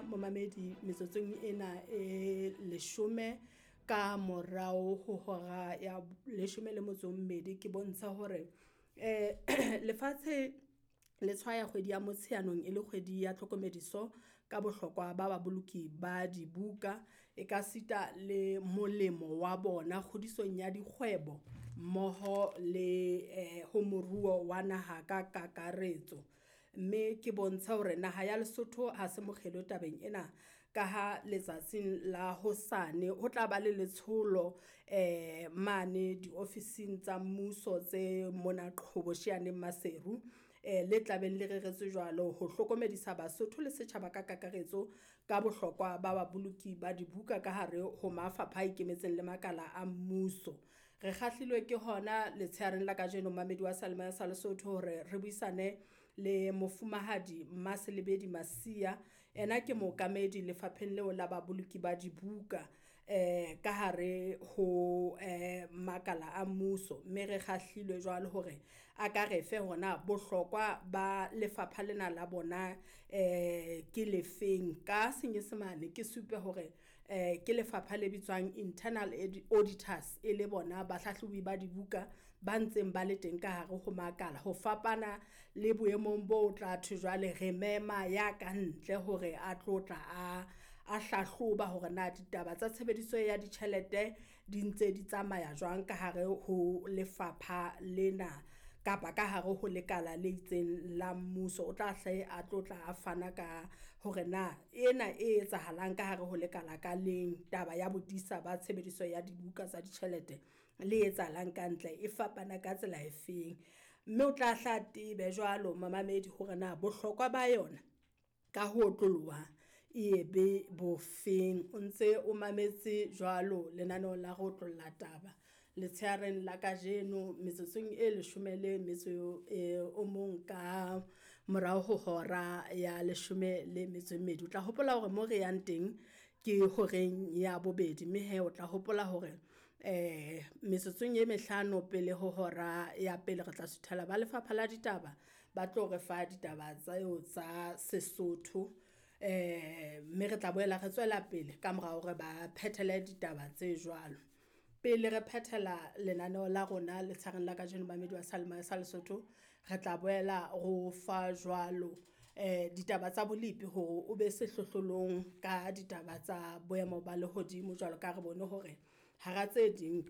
wena momamedi metsotsong ena e 10 ka morao ho hora ya 12 ke bontsha hore lefatshe le tshwaya kgwedi ya Motsheanong e le kgwedi ya tlhokomediso ka bohlokwa ba baboloki ba dibuka e ka sita le molemo wa bona kgodisong ya dikgwebo mmoho le ho moruo wa naha ka kakaretso. Mme ke bontsha hore naha ya Lesotho ha se mokgelo tabeng ena ka ha letsatsing la hosane ho tla ba le letsholo mane diofising tsa mmuso tse mona Qhobosheaneng Maseru le tlabeng le reretswe jwalo ho hlokomedisa Basotho le setjhaba ka kakaretso ka bohlokwa ba baboloki ba dibuka ka hare ho mafapha a ikemetseng le makala a mmuso. Re kgahlilwe ke hona letshehareng la kajeno mamedi wa Seyalemoya sa Lesotho hore re buisane le mofumahadi Mmaselebedi Masia. Ena ke mookamedi lefapheng leo la baboloki ba dibuka ka hare ho makala a mmuso, mme re kgahlilwe jwalo hore a ka re fe hona bohlokwa ba lefapha lena la bona ke lefeng. Ka senyesemane ke supe hore ke lefapha le bitswang internal auditors e le bona bahlahlobi ba dibuka ba ntseng ba le teng ka hare ho makala, ho fapana le boemong bo tla thwe jwale re mema ya ka ntle hore a tlo tla a hlahloba hore na ditaba tsa tshebediso ya ditjhelete di ntse di tsamaya jwang ka hare ho lefapha lena kapa ka hare ho lekala le itseng la mmuso. O tla hle a tlo tla a fana ka hore na ena e etsahalang ka hare ho lekala ka leng, taba ya bodisa ba tshebediso ya dibuka tsa ditjhelete le etsahalang ka ntle e fapana ka tsela e feng. Mme o tla hla tebe jwalo mamamedi hore na bohlokwa ba yona ka ho otloloha e be bofeng. O ntse o mametse jwalo lenaneo la ho otlolla taba letshehareng la kajeno metsotsong e 11 ka morao ho hora ya 12. O tla hopola hore mo re yang teng ke horeng ya bobedi, mme he o tla hopola hore metsotsong e 5 pele ho hora ya pele re tla suthela ba lefapha la ditaba ba tlo re fa ditaba tseo tsa Sesotho, mme re tla boela re tswela pele ka mora hore ba phethele ditaba tse jwalo. Pele re phethela lenaneo la rona letshareng la kajeno mamedi wa Seyalemoya sa Lesotho, re tla boela ro fa jwalo ditaba tsa bolepi hore o be sehlohlolong ka ditaba tsa boemo ba lehodimo, jwalo ka re bone hore hara tse ding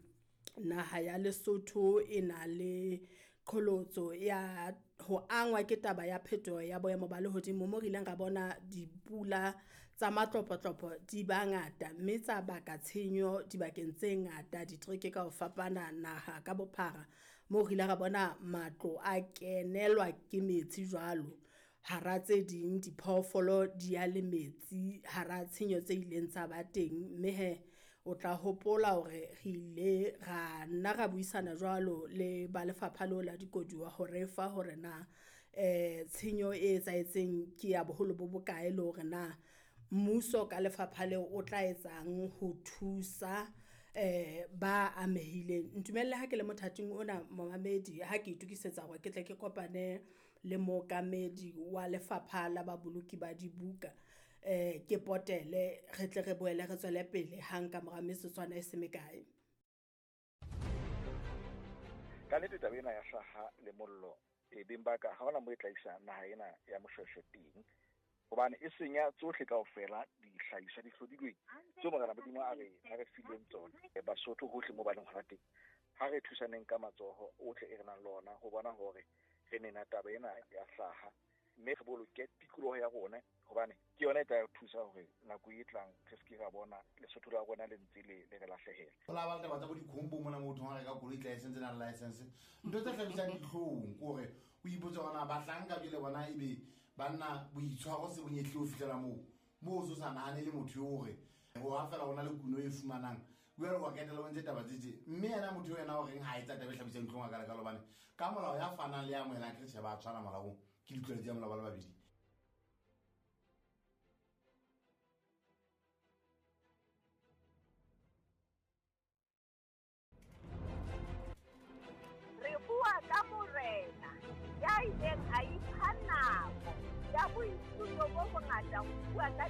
naha ya Lesotho e na le qholotso ya ho angwa ke taba ya phetoho ya boemo ba lehodimo, mo re ileng ra bona dipula tsa matlopotlopo di ba ngata mme tsa baka tshenyo dibakeng tse ngata ditereke ka ho fapana naha ka bophara, mo re ile ra bona matlo a kenelwa ke metsi jwalo, hara tse ding diphoofolo di ya le metsi hara tshenyo tse ileng tsa ba teng. Mme he o tla hopola hore re ile ra nna ra buisana jwalo le ba lefapha leo la dikoduwa hore fa hore na tshenyo e etsahetseng ke ya boholo bo bokae le hore na mmuso ka lefapha leo o tla etsang ho thusa ba amehileng. Ntumelle ha ke le mothating ona momamedi ha ke itokisetsa hore ke tle ke kopane le mookamedi wa lefapha la baboloki ba dibuka, ke potele re tle re boele re tswele pele hang ka mora metsotswana e se mekae. Ka nnete taba ena ya hlaha le mollo e beng ba ka ha hona mo e tla isa naha ena ya Moshweshwe teng, hobane e senya tsohle kaofela dihlahiswa di hlodilweng tseo Morena Modimo a re fileng tsona. Basotho hohle mo ba leng hona teng, ha re thusaneng ka matsoho ohle e re nang le ona ho bona hore re nena taba ena ya hlaha, mme re boloke tikoloho ya rona, hobane ke yona e tla re thusa hore nako e tlang re se ke ra bona Lesotho la rona le ntse le re lahlehela. Ho la ba le taba tsa bo dikhombo mona motho ha reka koloi license na license, ntho tse hlabisang dihlong ke hore o ipotse hore na bahlanka jwale bona ebe banna boitshwaro se bonyehle ho fihlela moo o so sa nahane le motho eo hore ho ha fela hona le kuno e fumanang jwale wa ketela o ntse taba tse tje, mme yena motho ena o reng ha etsa taba e hlabisang dihlong a kalekalo, hobane ka molao ya fanang le ya amohelang ke tjhe ba tshwana molaong, ke ditlwaelo tsa molao ba le babedi. Re bua ka morena ya ileng a ipha nako ya boithuto bo bongata ho bua ka